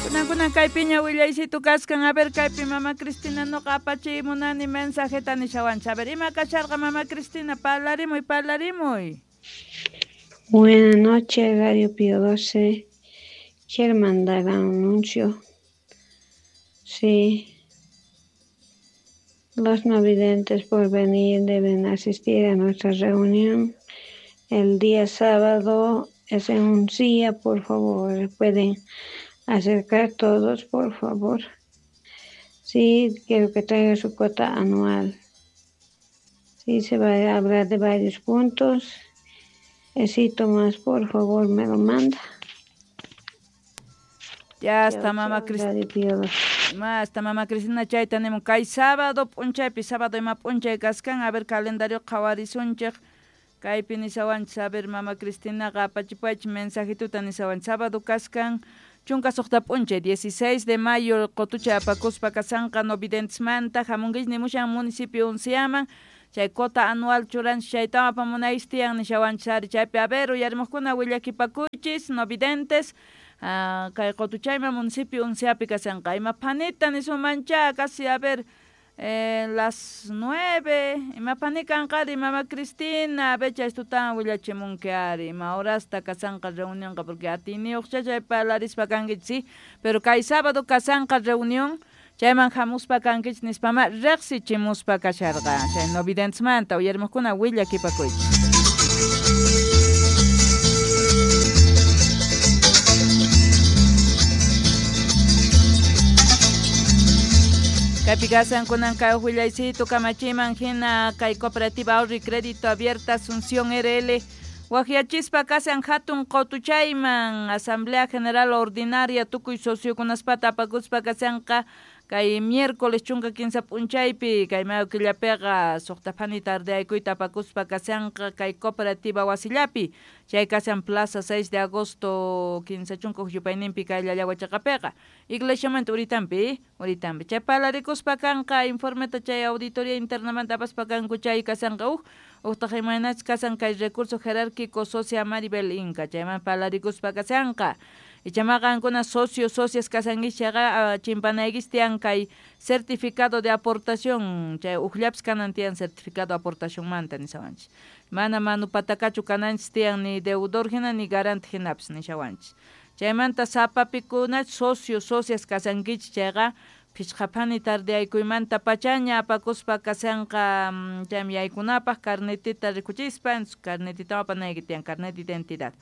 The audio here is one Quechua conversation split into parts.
Kunan kaypiña willaysitu kaskan, a ver kaypi mama Cristina noqa apachiy munani mensajeta nishawanchik. A ver, ima kasharqa mama Cristina, parlarimuy, parlarimuy. Buenas noches, Radio Pío 12. Quiero mandar un anuncio. Sí. Los no videntes por venir deben asistir a nuestra reunión el día sábado. Es en un día, por favor. Pueden acercar todos, por favor. Sí, quiero que traigan su cuota anual. Sí, se va a hablar de varios puntos. Sí, Tomás, por favor, me lo manda. Ya está, mama Cristina. Hasta mama Cristina chayta nimun kay sábado p'unchaypi, sábado ima p'unchay kaskan, a ver calendario qhawarisunchik. Kaypi nisawanchik, a ver mama Cristinaqa apachipuwaychik mensajituta nisawanchik. Sábado kaskan 16 p'unchay, 16 de mayo, qutuchay apakuspa kasanqa no videntesmanta hamunkichik nimushan municipio Unciaman. Chay cuota anual churanchik chaytawan apamunaychik tiyan nishawanchik ari chaypi. A ver, uyarimuqkuna willakipakuychis no videntes. Kay qutuchayman municipio Unciapi kasanqa. Ima phanita nisunmancha, casi a ver las 9, ima phani kanqari mama Cristina, a ver chay tutan willachimunki ari, ima horasta kasanqa reunionqa, porque atiyniyuqcha chay parlarispa kankichik, sí, pero kay sábado kasanqa reunión, chayman hamuspa kankichik nispama riqsichimuspa kasharqa chay no videntesmanta uyarimuqkuna willakipakuychik. Kaypi kasan kunan kay willaysitu kamachiman hina kay Cooperativa Ahorro y Crédito Abierta Asunción RL waqyachispa kasan hatun qutuchayman Asamblea General Ordinaria tukuy sociokunaspata apakuspa kasanqa kay miércoles 13 p'unchaypi kay mayo killapiqa suqta phani tardeaykuyta apakuspa kasanqa kay cooperativa wasillapi chay kasan Plaza 6 de agosto 30 yupayninpi kay Llallawachaqapiqa iglesiamanta uritampi uritampi chay parlarikuspa kanqa informeta chay auditoría internamanta apaspa kanku chay kasanqa uj uqtaq imaynachus kasan kay recurso jerárquico socia Maribel Inca chayman parlarikuspa kasanqa. Ichamaqa qankuna socio socias kasankichik chayqa chimpanaykichik tiyan kay certificado de aportación chay ujllapis kanan tiyan certificado de aportacionmanta nishawanchik. Mana manupatakachu kananchik tiyan ni deudor hina ni garante hinapis nishawanchik. Chaymanta sapapikuna socio socias kasankichik chayqa phishqaphani tardeaykuymanta pachaña apakuspa kasanqa chaymi yaykunapaq carnetita rikuchispa carnetita apanayki tiyan carnet de identidad.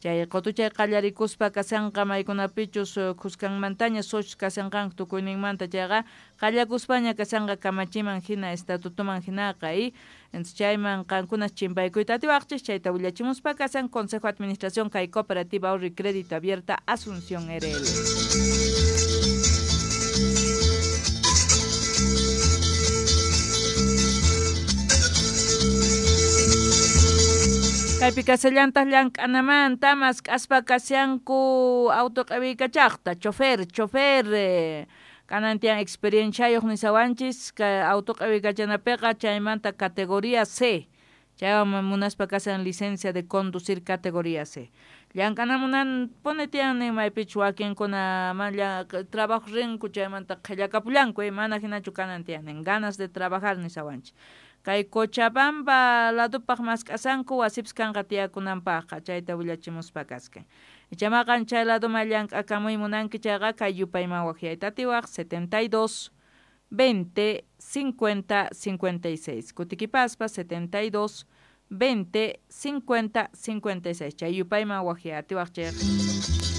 Chay qutuchay qallarikuspa kasanqa maykunapichus khuskanmantaña socios kasanqanku tukuyninmanta chayqa qallakuspaña kasanqa kamachiman hina estatutoman hinaqa y entonces chayman qankuna chimpaykuyta atiwaqchik chayta willachimuspa kasan Consejo de Administración kay Cooperativa Ahorro y Crédito Abierta Asunción RL. Kaypi kasallantaq llank'anamanta mask'aspa kashanku auto q'iwiykachaqta chofer chofer kanan tiyan experienciayuq nisawanchis kay auto q'iwiykachanapiqa chaymanta categoría C chaywan munaspa kasan licencia de conducir categoría C. Llank'anamunan pone tiyan nin maypichus wakinkuna man trabajo rinku chaymanta qhillakapullanku mana hinachu kanan tiyan nin ganas de trabajar nisawanchis. Kay Cochabamba ladupaq mask'asanku wasipis kanqa tiyakunanpaqqa chayta willachimuspa kaskan. Ichamaqan chay laduman llank'akamuy munanki chayqa kay yupayman waqyayta atiwaq 72 20 50 56 kutikipaspa 72 20 50 56 chay yupayman waqyay atiwaq chayqa.